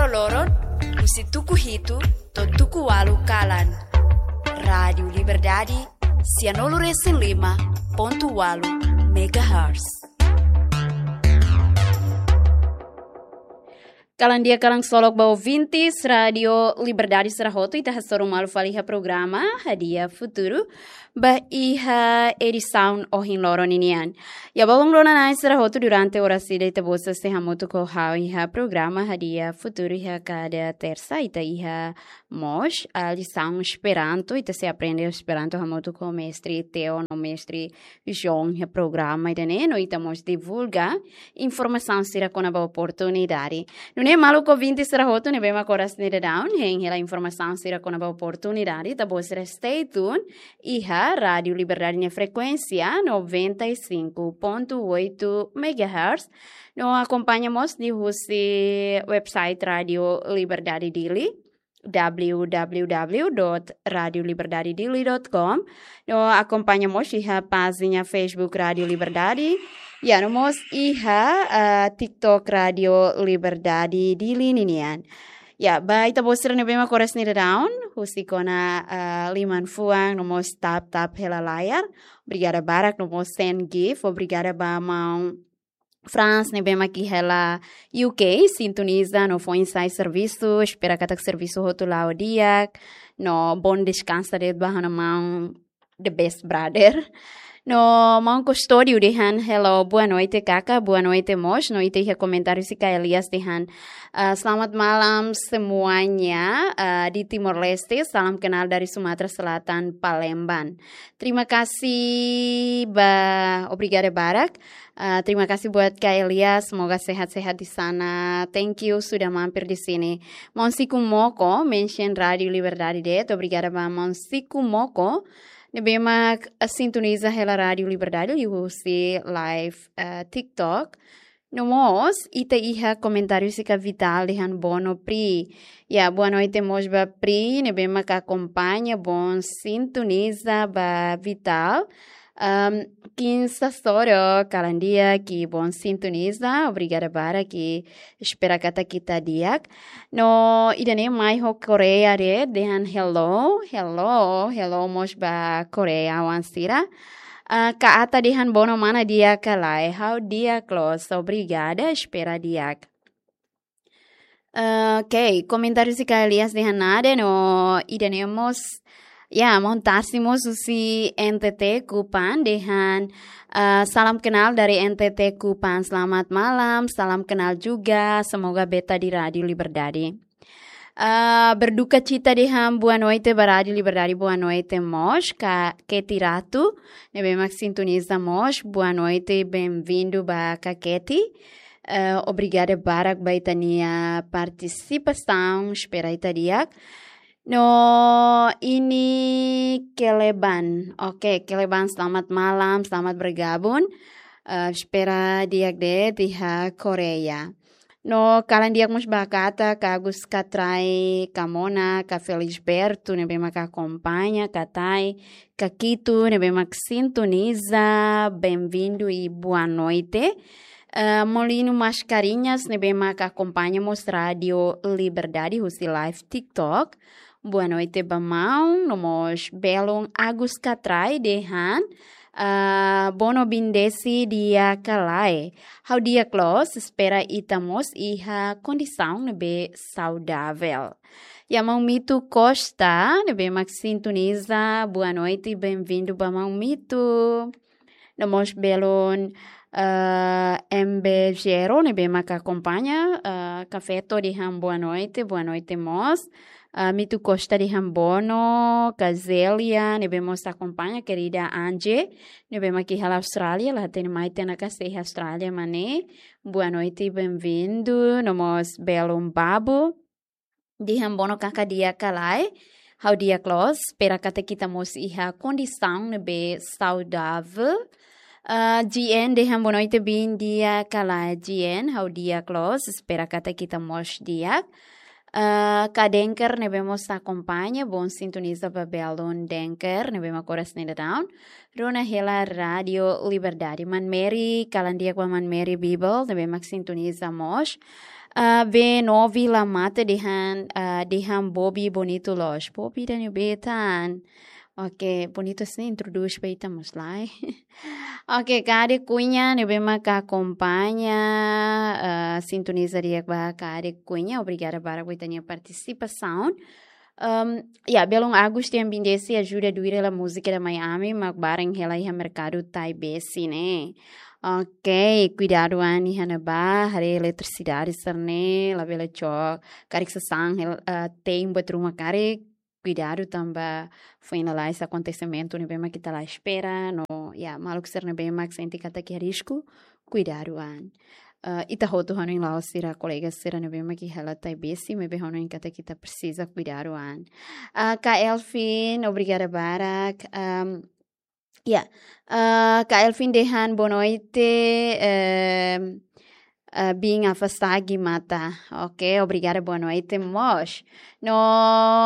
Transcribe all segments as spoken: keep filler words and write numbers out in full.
loron, husi tuku hitu to'o tuku ualu kalan. Rádiu Liberdade, sianulu resin lima pontu ualu megahertz. Kalan di'ak, kalan ksolok ba ouvintes Rádiu Liberdade sira hotu, ita hasoru malu fali iha programa Hadi'a Futuru ba iha edisaun ohin loron ninian. Ya, balun rona-na'in sira hotu, durante oras ida ita-boot sei hamutuk ho ha'u iha programa Hadi'a Futuru iha kada tersa, ita iha mós, ah, lisaun Esperanto, ita sei aprende Esperanto hamutuk ho mestre Theo no mestre João iha programa ida-ne'e, no ita mós divulga informasaun sira kona-ba oportunidade. Nune'e maluk ouvinte sira hotu ne'ebé mak oras ne'e daudaun hein hela informasaun sira kona-ba oportunidade, ita-boot sira stay tune iha Rádiu Liberdade nia frekuénsia noventa e cinco ponto oito megahertz. No akompaña mós liuhusi website Rádiu Liberdade Dili, w w w dot radio liberdade dili dot com. No akompaña mós iha pájina Facebook Rádiu Liberdade. Ya, no mós iha, ah, TikTok Rádiu Liberdade Dili ninian. Ya, ba ita-boot sira ne'ebé mak oras ne'e daudaun husik ona, ah, liman fuan no mós tap-tap hela layar. Obrigada barak, no mós send gift. Obrigada ba maun Franz ne'ebé mak iha hela U K, sintoniza no foin-sa'e servisu, espera katak servisu hotu la'o di'ak, no bom descanso de'it ba ha'u-nia maun, the best brother. No maun Custódio dehan hello, boa noite kaka, boa noite mós, no ita iha komentáriu husi Kak Elias dehan, ah, selamat malam semuanya, ah, di Timor Leste, salam kenal dari Sumatera Selatan, Palembang. Terima kasih ba, obrigada barak. Ah, terima kasih buat Kak Elias, semoga sehat-sehat di sana. Thank you sudah mampir di sini. Maun Siku Moko, mention Rádiu Liberdade de'it, obrigada ba maun Siku Moko ne'ebé mak, ah, sintoniza hela Rádiu Liberdade liuhusi live, ah, TikTok. No mós, ita iha komentáriu husi Kak Vital dehan boa noite Pri. Ya, boa noite mós ba Pri, ne'ebé mak akompaña, bom sintoniza ba Vital. Am, Kinsa Soro, kalan di'ak, bom sintoniza, obrigada barak, espera katak ita di'ak. No ida-ne'e mai ho Koreia de'it, dehan hello, hello, hello mós ba Koreia oan sira. Ah, Kak Ata dehan bono mana di'ak ka lae, ha'u di'ak loos, obrigada, espera di'ak. Ah, ok, komentáriu husi Kak Elias dehan nada, no ida-ne'e mós, ya, maun Tarsi mós husi N T T Kupang dehan, ah, salam kenal dari N T T Kupang, selamat malam, salam kenal juga, semoga betah di Rádiu Liberdade. Ah, berduka cita dehan boa noite ba Rádiu Liberdade, boa noite mós, Kak Keti Ratu, ne'ebé mak sintoniza mós, boa noite, bem-vindo ba Kak Keti. Eh, obrigada barak ba ita-nia partisipasaun, espera ita di'ak. No ini Keleban. Oke, Keleban, selamat malam, selamat bergabung. Eh, espera di'ak de'it iha Koreia. No kalan di'ak mós ba Kak Ata, Kak Agus, Kak Trai, Kak Mona, Kak Felisberto, ne'ebé mak akompaña, Kak Tai, Kak Kitu, ne'ebé mak sintoniza, bem-vindo e boa noite. Eh, Molino Mascarenhas, ne'ebé mak akompaña mós Rádiu Liberdade husi live TikTok. Boa noite ba maun, no mós belun Agus Kak Trai dehan, ah, bono bendisi di'ak ka lae. Ha'u di'ak loos, espera ita mós iha kondisaun ne'ebé saudavel. Ya, maun Mitu Costa, ne'ebé mak sintoniza, boa noite, bem-vindo ba maun Mitu. No mós belun, eh, M B Gero, ne'ebé mak akompaña, eh, Kak Feto dehan boa noite, boa noite mós. Eh, Mitu Costa dehan bono, Kak Zelia, ne'ebé mós akompaña, querida Angie, ne'ebé mak iha Austrália, la hatene mai tiha ona ka sei iha Austrália mak ne'e. Boa noite, bem-vindo. No mós belun Babu dehan bono kaka di'ak ka lae. Ha'u di'ak loos, espera katak ita mós iha kondisaun ne'ebé saudavel. Ah, G N dehan boa noite, bin di'ak ka lae G N, ha'u di'ak loos, espera katak ita mós di'ak. Ah, ka Denker ne'ebé mós akompaña, bom sintoniza ba belun Denker ne'ebé mak oras ne'e daudaun rona hela Rádio Liberdade. Maun Mary, kalan di'ak ba Maun Mary Bibel ne'ebé mak sintoniza mós. Ah, B Novi La Mata dehan, ah, dehan Bobi bonitu loos. Bobi ida-ne'ebé tan? Oke, bonitu sin, introdús ba ita mós lai. Oke, Kade Cunha ne'ebé mak akompaña, ah, sintoniza di'ak ba Kade Cunha. Obrigada barak ba ita-nia partisipasaun. Em, ya, belun Agus dehan Bindesi ajuda duir hela múzika ida Miami mak barak hela iha merkadu Taibesi ne'e. Oke, kuidadu an iha ne'ebá, haree eletrisidade sira-ne'e, labele cok karik sasán hel-, ah, te'in buat ruma karik, kuidadu tanba foin lalais akontesimentu ne'ebé mak ita la espera, no, ya, maluk sira ne'ebé mak sente katak iha risku, kuidadu an. Eh, ita hotu hanoin la'ós sira kolega sira ne'ebé mak iha hela Taibesi, maibé hanoin katak ita presiza kuidadu an. Ah, Ka Elvin, obrigada barak. Am, ya, ah, Ka Elvin dehan boa noite, em, ah, bin afastagi mata. Oke, obrigada, boa noite mós. No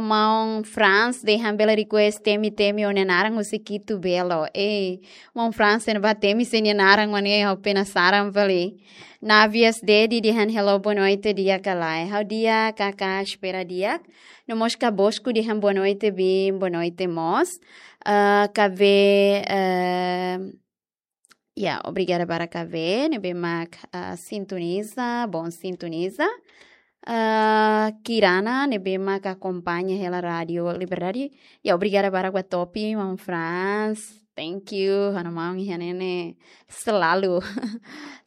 maun Franz dehan bele request temi-temi ó-nia naran husi Kitu Belo. Ei, maun Franz, ne'ebá temi sé nia naran mak ne'e, ha'u penasaran fali. Navias Dedi dehan hello, boa noite, di'ak ka lae? Ha'u di'ak, Kaká, espera di'ak. No mós Ka Bosco dehan boa noite, bin, boa noite mós. Ah, Ka Ve, eh, ya, obrigada barak Ka Ve, ne'ebé mak, ah, sintoniza, bom sintoniza. Ah, Kirana, ne'ebé mak akompaña hela Rádio Liberdade. Ya, obrigada barak ba Topi, maun Franz. Thank you, ha'u-nia maun iha ne'e ne'e selalu,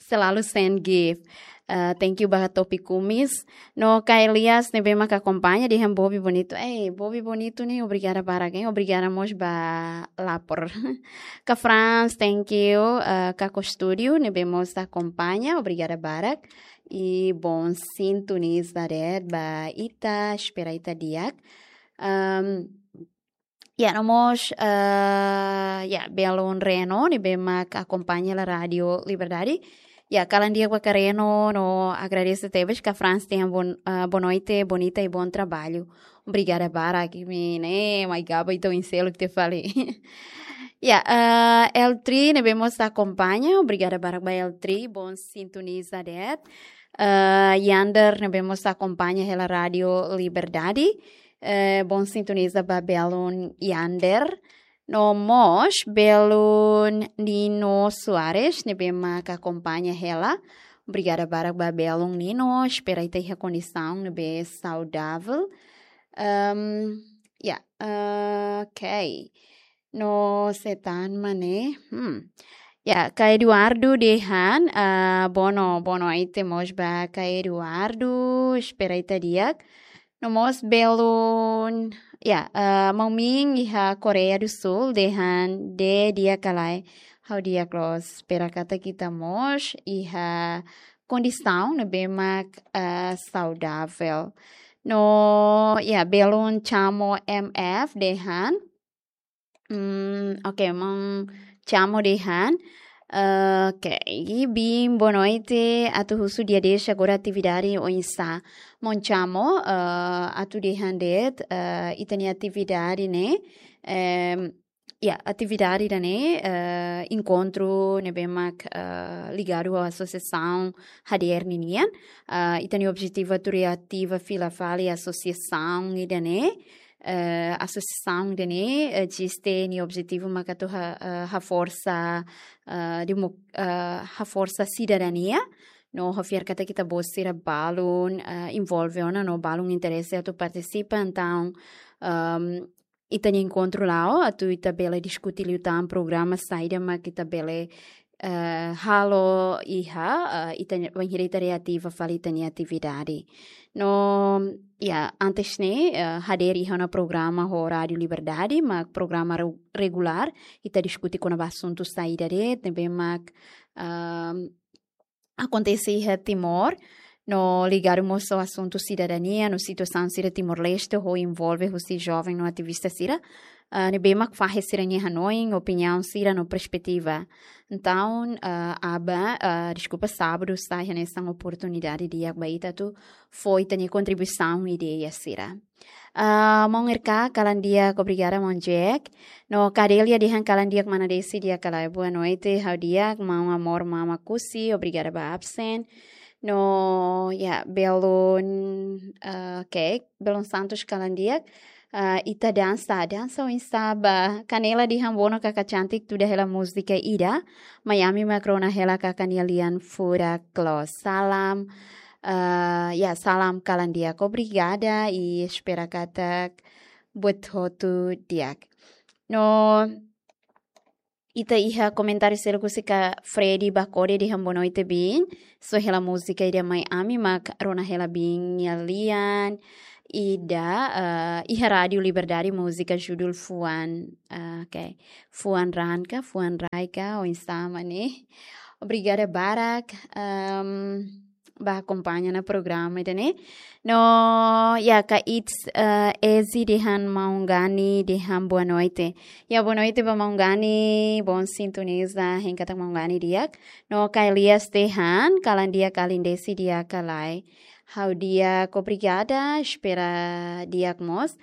selalu send gift. Ah, thank you ba Topi Kumis. No Ka Elias ne'ebé mak akompaña dehan Bobi bonitu. Eh, Bobi bonitu ne'e, obrigada barak, eh. Obrigada mós ba lapor. Ka Franz, thank you. Ah, Kako Studio ne'ebé mós akompaña, obrigada barak. I bom sintoniza de'it ba ita, espera ita di'ak. Am, ya, no mós, ah, ya, belun Reno ne'ebé mak akompaña hela Rádio Liberdade. Ya, kalan di'ak ba Ka Reno, no agradese tebes. Ka Franz dehan bon-, ah, boa noite, bonita e bom trabalho. Obrigada barak, imi ne'e mai gaba ita oin seluk tiha fali. Ya, ah, L three ne'ebé mós akompaña, obrigada barak ba L three, bom sintoniza de'it. Ah, Yander ne'ebé mós akompaña hela Rádio Liberdade. Eh, bom sintoniza ba belun Yander. No mós belun Nino Soares ne'ebé mak akompaña hela. Obrigada barak ba belun Nino, espera ita iha kondisaun ne'ebé saudavel. Em, ya, eh, oke. No sé tan mak ne'e. Hmm. Ya, Ka Eduardo dehan, ah, boa no-, boa noite mós ba Ka Eduardo, espera ita di'ak. No mós belun, ya, ah, maun Min iha Koreia do Sul dehan, Dé di'ak ka lae? Ha'u di'ak loos, espera katak ita mós iha kondisaun ne'ebé mak, ah, saudavel. No, ya, belun Chamo M F dehan, Hmm, oke, maun Chamo dehan. Eh, oke, bin, boa noite. Atu husu dia dez agora atividade oinsá? Maun Chamo, eh, atu dehan de'it, eh, ita-nia atividade ne'e, em, ya, atividade ida-ne'e, eh, enkontru ne'ebé mak, eh, ligadu ho asosiasaun H D R ninian. Eh, ita-nia objetivu atu reativa fila fali asosiasaun ida-ne'e. Eh, asosiasaun ida-ne'e, eh, eziste nia objetivu maka atu ha-, eh, haforsa, eh, demo-, eh, haforsa sidadania. No hafiar katak ita-boot sira balun, eh, envolve ona no balun interese atu partisipa, entaun, ehm, ita-nia enkontru la'o atu ita bele diskuti liután programa saida mak ita bele, eh, halo iha, eh, ita-nia, bainhira ita reativa fali ita-nia atividade. No, ya, antes ne'e, eh, hadeer iha ona programa ho Rádio Liberdade, mak programa re-, regulár, ita diskuti kona-ba asuntu saida de'it, ne'ebé mak, ehm, akontese iha Timor, no ligadu mós ho asuntu sidadania, no situasaun sira Timor-Leste, ho envolve husi joven no ativista sira. ah, ne'ebé mak fahe sira-nia hanoin, opiniaun sira no perspetiva. Entaun, ah, aban, ah, deskulpa, sábadu sai hanesan oportunidade di'ak ba ita atu fó ita-nia kontribuisaun, ideia sira. Ah, maun R K, kalan di'ak, obrigada, maun Jack. No Cadelia dehan kalan di'ak, mana Desi, di'ak ka lae? Boa noite, ha'u di'ak, maun Amor, mama Kusi, obrigada ba absen. No, ya, Belun, ah, oke, Belun Santos kalan di'ak. Ah, ita dansa, dansa oinsá ba? Kanela dehan Bono kaka cantik, tuda hela múzika ida, mai ami mak rona hela kaka nia lian furak loos. Salam, ah, ya, salam kalan di'ak. Obrigada, i espera katak buat hotu di'ak. No, ita iha komentáriu seluk husi ka Freddy Bakode dehan boa noite, biin. Só hela múzika ida mai ami mak rona hela biin nia lian ida, eh, iha Rádiu Liberdade, múzika judul Fuan, eh, oke. Fuan Raan ka, Fuan Rai ka, oinsá mak ne'e. Obrigada barak, ehm, ba akompaña ona programa ida-ne'e. No, ya, ka It's, eh, Easy dehan maun Gani dehan boa noite. Ya, boa noite ba maun Gani, bom sintoniza, hein katak maun Gani di'ak. No ka Elias dehan, kalan di'ak, alin Desi, di'ak ka lae? Ha'u di'ak, obrigada, espera di'ak mós.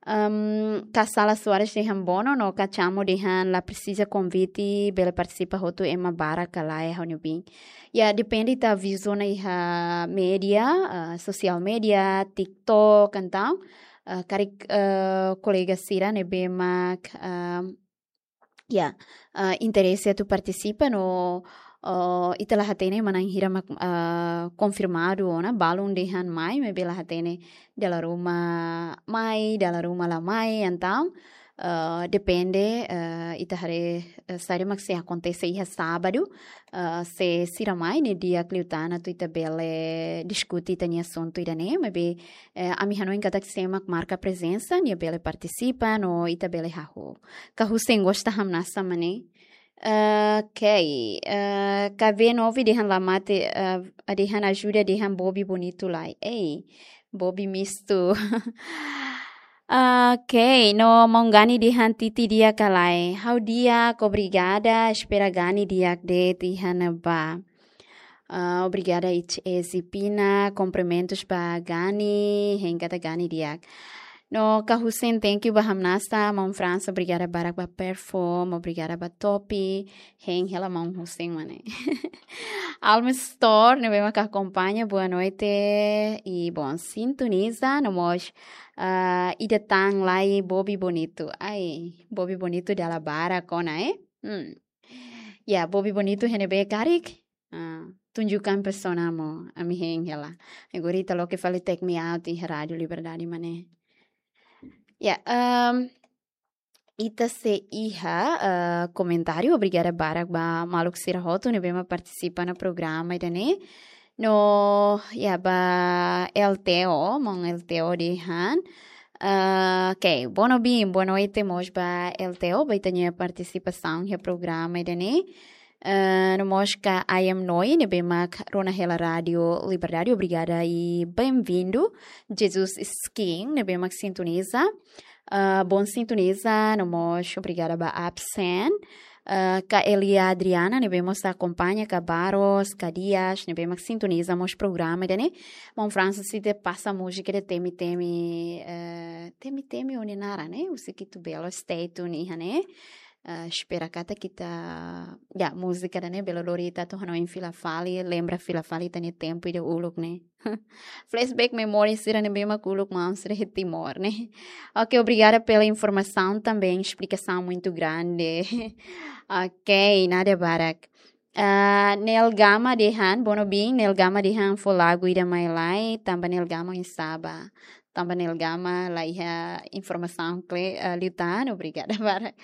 Ehm, ka Sala Soares dehan Bono, no ka Chamo dehan la presiza konvite, bele partisipa hotu ema barak ka lae, ha'u-nia biin. Ya, depende, ita aviza ona iha média, ah, sosiál média, TikTok, entaun, ah, karik, ah, kolega sira ne'ebé mak, ah, ya, ah, interese atu partisipa no, oh, ita la hatene manán hira mak, ah, konfirmadu ona, balun dehan mai, maibé la hatene dala ruma mai, dala ruma la mai, entaun, ah, depende, ah, ita haree, ah, saida mak sei akontese iha sábadu, ah, se sira mai ne'e di'ak liután atu ita bele diskute ita-nia asuntu ida-ne'e, maibé, eh, ami hanoin katak sé mak marka prezensa, nia bele partisipa, no ita bele hahú. Ka Hussein gosta hamnasa mak ne'e. Ah, oke, ah, ka V nove dehan la mate, ah, dehan ajuda dehan Bobi bonitu lai. Ei, Bobi mistu. Ah, oke, no maun Gani dehan Titi di'ak ka lae? Ha'u di'ak, obrigada, espera Gani di'ak de'it iha ne'ebá. Ah, obrigada, H S Pina. Kumprimentus ba Gani, hein katak Gani di'ak. No ka Hussein, thank you ba hamnasa. Maun Franz, obrigada barak ba perform, obrigada ba topi. Hein hela maun Hussein mak ne'e. Alma Store, ne'ebé mak akompaña, boa noite i bom sintoniza. No mós, ah, ida tan lai Bobi bonitu. Ai, Bobi bonitu dala barak ona, eh? Hmm. Ya, Bobi bonitu iha ne'ebé karik? Ah, tunjukkan pesona mo, ami hein hela. Agora ita loke fali Take Me Out iha Rádiu Liberdade mak ne'e. Ya, ehm, ita sei iha, eh, komentáriu, obrigada barak ba maluk sira hotu ne'ebé mak partisipa iha programa ida-ne'e. No, ya, ba L T O, maun L T O dehan. Ah, oke, Bono biin, boa noite mós ba L T O, ba ita-nia partisipasaun iha programa ida-ne'e. Ah, no mós ka I Am Noi, ne'ebé mak rona hela Rádiu Liberdade, obrigada i bem-vindo. Jesus Skin, ne'ebé mak sintoniza. Ah, bom sintoniza, no mós obrigada ba absen. Ah, ka Elia Adriana, ne'ebé mós akompaña, ka Baros, ka Dias, ne'ebé mak sintoniza mós programa ida-ne'e. Maun Francis ita pasa múzika de temi-temi, eh, temi-temi ohin naran, ne'e? Husi Kitu Belo, stay tune iha ne'e. Eh, espera katak ita, ya, múzika ida-ne'e bele lori ita atu hanoin fila fali, lembra fila fali ita-nia tempu ida uluk ne'e. Flashback memória sira ne'ebé mak uluk maun sira iha Timor ne'e. Ok, obrigada pela informação também, explicação muito grande. Ok, nada barak. Ah, Nel Gama dehan, Bono biin, Nel Gama dehan fó lagu ida mai lai, tanba Nel Gama oinsá ba. Tanba Nel Gama la iha informasaun kle-, ah, liután, obrigada barak.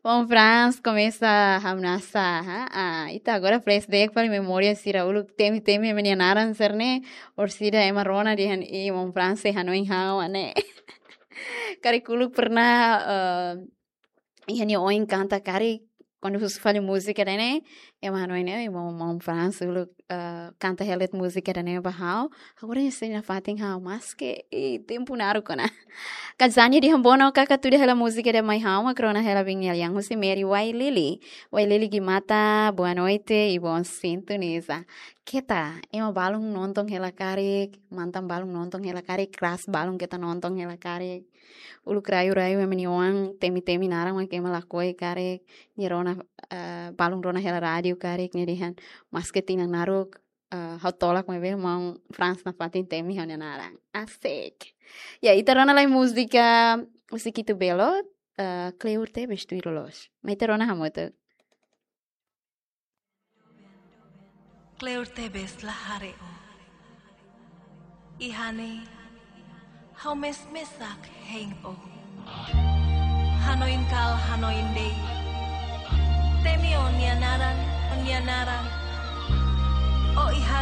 Maun Franz komesa hamnasa, ha? Ah, ita agora flashback fali memória sira uluk temi-temi ema nia naran sira-ne'e, orsida ema rona dehan, "Ih, maun Franz sei hanoin ha'u mak ne'e." Karik uluk pernah, eh, iha nia oin kanta karik, kuandu husu fali múzika ida-ne'e, Ema hanoin ne'e, maun, maun Franz uluk, eh, kanta hela de'it múzika ida-ne'e ba ha'u. Agora nia sei nafatin ha'u, maske, eh, tempu naruk ona. Kazani dehan bono kaka tuda hela múzika ida mai ha'u, mak rona hela biin nia lian husi Mary Wailili. Wailili Gimata, boa noite, i bom sintoniza. Keta, ema balun nonton hela karik, mantan balun nonton hela karik, kras balun keta nonton hela karik. Uluk rairai ema nia oan temi-temi naran mak ema lakohi karik, nia rona, eh, balun rona hela rádiu karik, nia dehan, maske tinan naruk, eh, ha'u tolak maibé maun Franz nafatin temi ha'u-nia naran. Asik. Ya, ita rona lai múzika husi Kitu Belo, eh, Kleur Tebes Tuir Loloos. Mai ita rona hamutuk. Kleur tebes la haree ó. Iha ne'e, ha'u mes-mesak hein ó. Hanoin kala hanoin de'it. Temi ó-nia naran, ó-nia naran. Ó iha